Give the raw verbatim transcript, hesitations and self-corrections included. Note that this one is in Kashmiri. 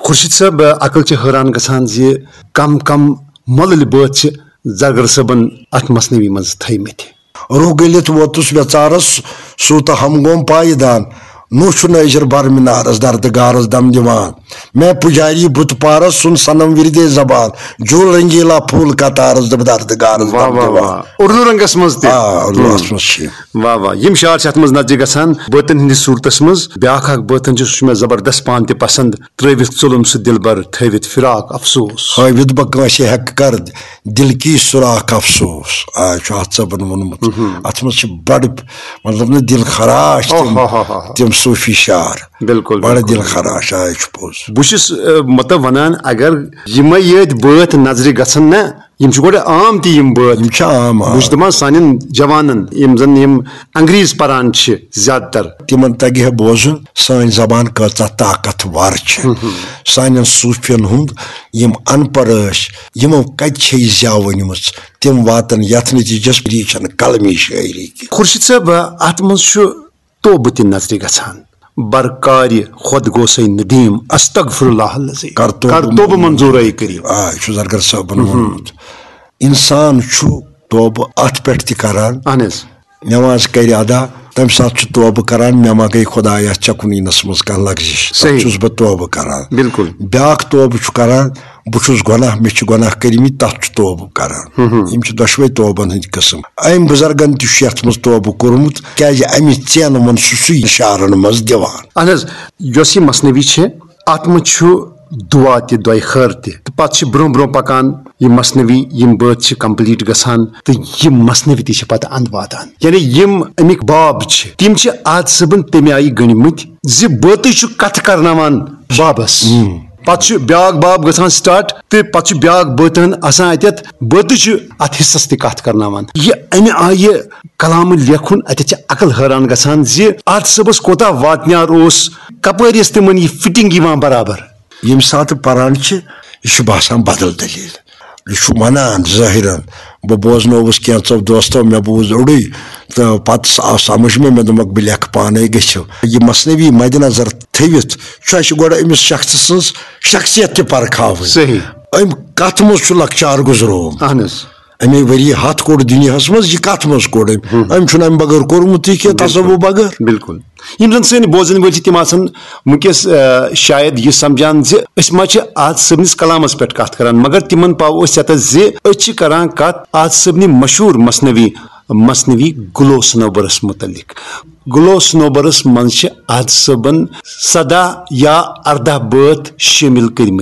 خورشید صٲب، عقل چھِ حٲران گژھان زِ کم کم مۄلٕلۍ بٲتھ چھِ زرگر صٲبن اتھ مثنوی منٛز تھٲومٕتۍ۔ روح گٔلِتھ ووتُس ویژارس، سوٗ تہٕ ہم گوم پایدان۔ نوح چھُ نٲجر بر مِنارس، دردٕ گارس دم دِوان۔ میں پُجاری بُت پارس، سُن صنم وِردے زبان۔ جول رنگیلا پھول قطارس، دردٕ گارس واہ دم واہ دِوان۔ واہ، اردو رنگس منٛز تہِ۔ آ، اردوس منٛز چھِ۔ واہ واہ، یِم شعر چھِ اتھ منٛز نظرِ گژھان۔ بٲتن ہٕنٛدِس صوٗرتس منٛز بیٛاکھ اکھ بٲتن چھُ، سُہ چھُ مےٚ زبردست پان تہِ پسند۔ ترٲوِتھ ظُلُم سُہ دِلبر، تھٲوِتھ فراق افسوس۔ ہٲوِتھ بہٕ کٲنٛسہِ ہٮ۪کہٕ کر دِل کی سُراخ افسوس۔ آ، چھُ اتھ صٲبن ووٚنمُت۔ اتھ منٛز چھِ بڑٕ، مطلب، نہٕ دِل خراش تِم، اوہ، ہو، ہو، ہو۔ تِم صوٗفی شعر۔ بِلکُل، بڑٕ بِلکُل۔ دِل خراش، آ، یہِ چھُ پوٚز۔ بہٕ چھُس، آ، مطلب، ونان، اگر یِمے یٲتۍ بٲتھ نظرِ گژھن نا، یِم چھِ گۄڈٕ عام تہِ یِم بٲتھ۔ یِم چھِ عام، آ۔ بہٕ چھُس دَپان سانٮ۪ن جوانن، یِم زَن یِم انگریز پران چھِ زیادٕ تر۔ تِمن تگہِ ہے بوزُن سٲنۍ زبان کۭژاہ طاقتور چھِ۔ سانٮ۪ن صوٗفین ہُنٛد یِم ان پڑھ ٲسۍ، یِمو کتہِ چھے زیو أنمٕژ، تِم واتن یتھ نتیجس، یہِ چھنہٕ قلمی شٲعری کینٛہہ۔ خورشید صٲب، اتھ منٛز چھُ توبہٕ تہِ نظرِ گژھان۔ بر کارِ خود گوسے ندیم، استغفر اللہ العظیم۔ کر توبہٕ کر توبہٕ منظور۔ منظور اے کریم۔ آ، یہِ چھُ زرگر صٲبن ووٚنمُت۔ انسان چھُ توبہٕ اتھ پٮ۪ٹھ تہِ کران۔ اہن حظ۔ نماز کرِ ادا، تمہِ ساتہٕ چھُ توبہٕ کران، مےٚ ما گٔے خدایا ژےٚ کُن یِنس منٛز کانٛہہ لغزش، تتھ صحیح۔ چھُس بہٕ توبہٕ کران۔ بِلکُل۔ بیٛاکھ توبہٕ چھُ کران، بہٕ چھُس گۄناہ، مےٚ چھِ گۄناہ کٔرمٕتۍ، تتھ چھُ توبہٕ کران۔ یِم چھِ دۄشوے توبن ہٕنٛدۍ قٕسم۔ أمۍ بُزرگن تہِ چھُ یتھ منٛز توبہٕ کوٚرمُت، کیازِ امہِ ژینہٕ منٛز چھُ سُے شعرن منٛز دِوان۔ اہن حظ، یۄس یہِ مثنوی چھِ، اتھ منٛز چھُ دعا تہِ، دعایہِ خٲر تہِ، تہٕ پتہٕ چھِ برونٛہہ برونٛہہ پکان یہِ مثنوی، یِم بٲتھ چھِ complete گژھان، تہٕ یِم مثنوی تہِ چھِ پتہٕ اندٕ واتان۔ یعنی یِم امیِکۍ باب چھِ، تِم چھِ آز صٲبن تمہِ آیہِ گٔنڈمٕتۍ زِ بٲتٕے چھُ کتھٕ کرناوان بابس۔ پتہٕ چھُ بیٛاکھ باب گژھان start، تہٕ پتہٕ چھُ بیٛاکھ بٲتن آسان اتٮ۪تھ، بٲتٕے چھُ اتھ حصس تہِ کتھ کرناوان۔ یہِ امہِ آیہِ کلام لیکھُن، اتٮ۪تھ چھِ عقل حٲران گژھان زِ اتھ صٲبس کوتاہ واتنیار اوس، کپٲرۍ ٲس تِمن یہِ fitting یِوان برابر۔ ییٚمہِ ساتہٕ پران چھِ، یہِ چھُ باسان بدل دٔلیٖل۔ یہِ چھُ ونان ظٲہِرن، بہٕ بوزنووُس کینٛژو دوستو، مےٚ بوٗز اوٚڑُے، تہٕ پتہٕ آو سمجھ مےٚ، مےٚ دوٚپمکھ، بہٕ لیکھٕ پانے گٔژھِو۔ یہِ مثنوی مدِ نظر تھٲوِتھ چھُ اَسہِ گۄڈٕ أمِس شخصہٕ سٕنٛز شخصیت تہِ پرکھاوٕنۍ۔ صحیح۔ أمۍ کتھ منٛز چھُ لۄکچار گُزرومُت؟ اہن حظ۔ أمۍ ؤری ہتھ کوٚڑ دُنیاہس منٛز، یہِ کتھ منٛز کوٚڑ أمۍ؟ أمۍ چھُنہٕ امہِ بغٲر کوٚرمُتٕے کینٛہہ، بِلکُل۔ تصوف بغٲر۔ بِلکُل۔ یِم زن سٲنۍ بوزن وٲلۍ چھِ، تِم آسن وٕنکیٚس، آ، شاید یہِ سمجھان زِ أسۍ ما چھِ آز صٲبنِس کلامس پٮ۪ٹھ کتھ کران، مگر تِمن پاوو أسۍ یتس زِ أسۍ چھِ کران کتھ آز صٲبنہِ مشہوٗر مثنوی، مثنوی گلو سنوبرس متعلق۔ گلو سنوبرس منٛز چھِ آز صٲبن سداہ یا ارداہ بٲتھ شٲمِل کٔرمٕتۍ۔